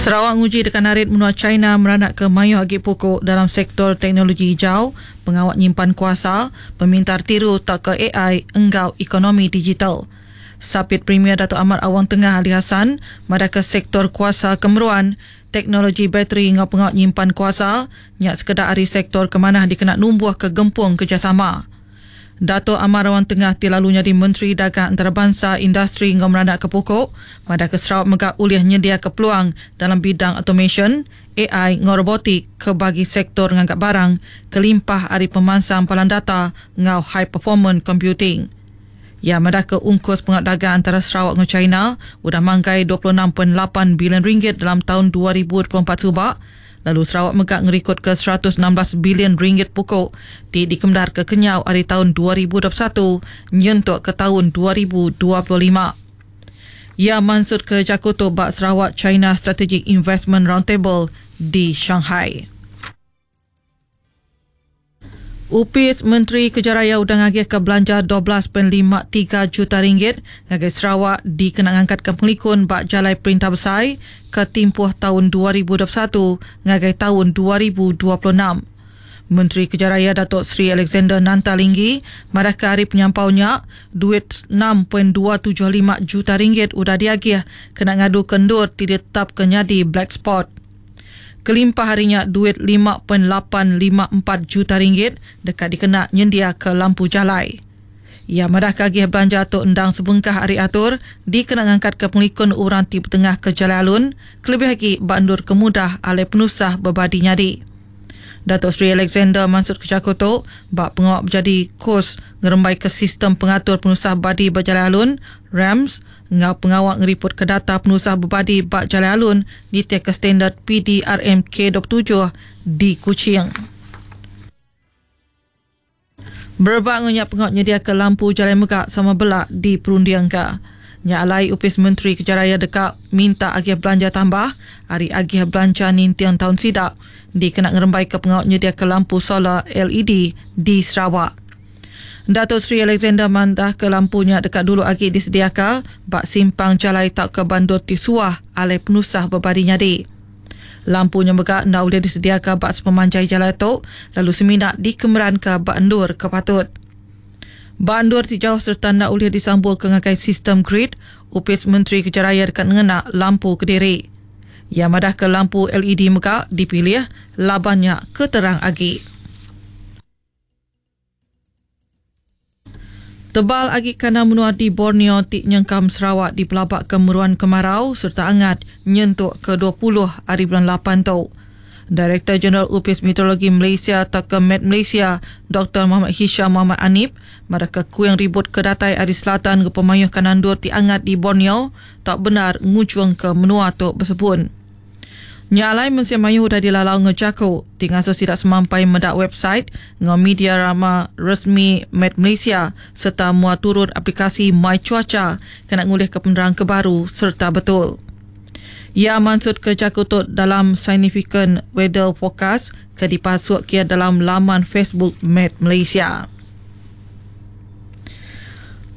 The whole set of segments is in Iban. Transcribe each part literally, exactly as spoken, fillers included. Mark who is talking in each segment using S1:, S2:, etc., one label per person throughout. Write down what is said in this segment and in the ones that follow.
S1: Sarawak nguji deka narit menua China meranak ke mayuh agi puku dalam sektor teknologi hijau, pengawa nyimpan kuasa, pemintar tiru tauka A I enggau ekonomi digital. Sapit Premier Datuk Amar Awang Tengah Ali Hasan madah ke sektor kuasa kemeruan, teknologi bateri enggau pengawa nyimpan kuasa nya sekeda ari sektor ke manah dikena numbuh ke gempung kerjasama. Datuk Amar Awang Tengah ti lalu nyadi Menteri Dagang Antarabangsa Industri enggau Meranak ke Pokok, madah ke Sarawak mega ulih nyedia ke peluang dalam bidang automation, A I enggau robotik ke bagi sektor nganggap barang kelimpah ari pemansang palan data enggau high performance computing. Ia madah ke ungkus pengawa dagang antara Sarawak dengan China udah manggai dua puluh enam perpuluhan lapan bilion ringgit dalam tahun dua ribu dua puluh empat subak, lalu Sarawak mega ngerikod ke seratus enam belas bilion ringgit pokok ti dikemdar ke kenyau ari tahun dua ribu dua puluh satu nyentuk ke tahun dua ribu dua puluh lima. Ia mansut ke jaku tu ba Sarawak China Strategic Investment Roundtable di Shanghai. Upis Menteri Kerja Raya udah ngagih ke belanja dua belas perpuluhan lima tiga juta ringgit ngagai Sarawak dikena ngangkat ke pengelikun ba Jalai Perintah Besai ke timpuh tahun dua ribu dua puluh satu ngagai tahun dua ribu dua puluh enam. Menteri Kerja Raya Datuk Seri Alexander Nanta Linggi madah ke hari penyampaunya duit enam perpuluhan dua tujuh lima juta ringgit udah diagih kena ngadu kendur ti ditetap ke nyadi black spot. Kelimpah harinya duit lima perpuluhan lapan lima empat juta ringgit dekat dikena nyendia ke lampu jalai. Ia madah kagih belanja tu endang sebengkah hari atur dikena ngangkat ke pengelikun orang ti bertengah ke jalai alun kelebih lagi bandur kemudah alai penusah berbadi nyadi. Datuk Seri Alexander Mansud Kejaku tu bak pengawak berjadi kos ngerembai ke sistem pengatur penusah badi berjalai alun R A M S ngau pengawak ngeriput ke data penusah berbadi bak jalai alun di ke standard P D R M K dua puluh tujuh di Kuching. Berebak ngenyak pengawak nyedia ke lampu jalai megak sama belak di Perundiang ke. Nya alai Upis Menteri Kerja Raya dekat minta agih belanja tambah hari agih belanja nintiang tahun sidak dikena ngerembai ke pengawak nyedia ke lampu solar L E D di Sarawak. Datuk Seri Alexander mandah ke lampunya dekat dulu agi disediaka bak simpang jalai tak ke bandur tisuah alai penusah berbadi nyadi. Lampunya megak nda boleh disediaka bak sepemanjai jalan tu lalu seminak dikemeran ke bak endur ke patut. Bak endur ti jauh serta nda boleh disambung ke ngagai sistem grid, Upis Menteri Kerja Raya dekat ngena lampu kediri. Ia madah ke lampu L E D megak dipilih labannya keterang agi. Tebal agi kana menua di Borneo ti nyengkam Sarawak di pelabak ke meruan kemarau serta angat nyentuk ke dua puluh hari bulan lapan tu. Direktur Jeneral Upis Meteorologi Malaysia atau ke Met Malaysia, Doktor Muhammad Hisham Muhammad Anip, madah ke kuing ribut ke datai ari selatan ke pemayuh kanandur ti angat di Borneo tak benar ngujung ke menua tu bersebun. Nyalai mensia mayu dah dilalau ngejaku tinggal tidak semampai mendak website ngau media rama resmi Met Malaysia serta muat turun aplikasi My Cuaca kena ngulih ke penerang ke baru serta betul. Ia mansut ke jakutut dalam Significant Weather Forecast ke dipasuk kia dalam laman Facebook Met Malaysia.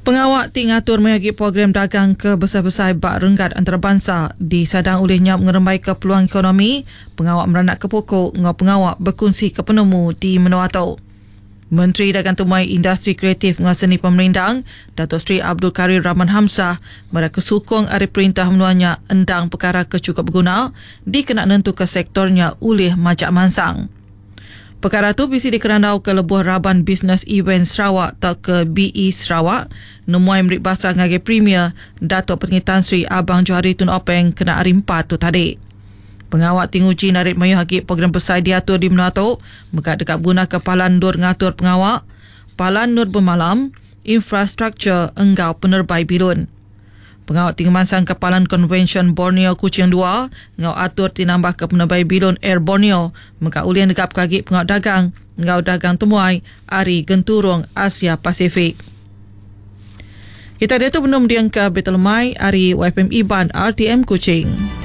S1: Pengawak ti ngatur mayagi program dagang ke besar-besar bak renggat antarabangsa di sadang oleh nyap ngerembai ke peluang ekonomi, pengawak meranak ke pokok ngau pengawak berkongsi ke penemu di menua tu. Menteri Dagang Temuai Industri Kreatif ngau Seni Pemerindang, Datuk Seri Abdul Karim Rahman Hamzah, mereka sukong ari perintah menuanya endang perkara ke cukup berguna dikena nentu ke sektornya ulih majak mansang. Perkara tu bisi dikerandau ke lebuh raban Business Event Sarawak atau ke B E Sarawak nemuai merik bahasa ngagai Premier Datuk Patinggi Tan Sri Abang Johari Tun Openg kena hari empat tu tadi. Pengawak tinguji narik mayuh agi program besar diatur di menua tu megat dekat guna ke Palan Nur ngatur pengawak, Palan Nur bermalam, infrastruktur enggau penerbai bilun. Pengawak tinggi mansang ke Palan Convention Borneo Kuching dua ngau atur tinambah ke penerbai bilun Air Borneo mega ulih negap kagi pengawak dagang ngau dagang temuai ari genturung Asia Pasifik. Kita dia tu belum diang ke Betel Mai ari Y F M Iban R T M Kuching.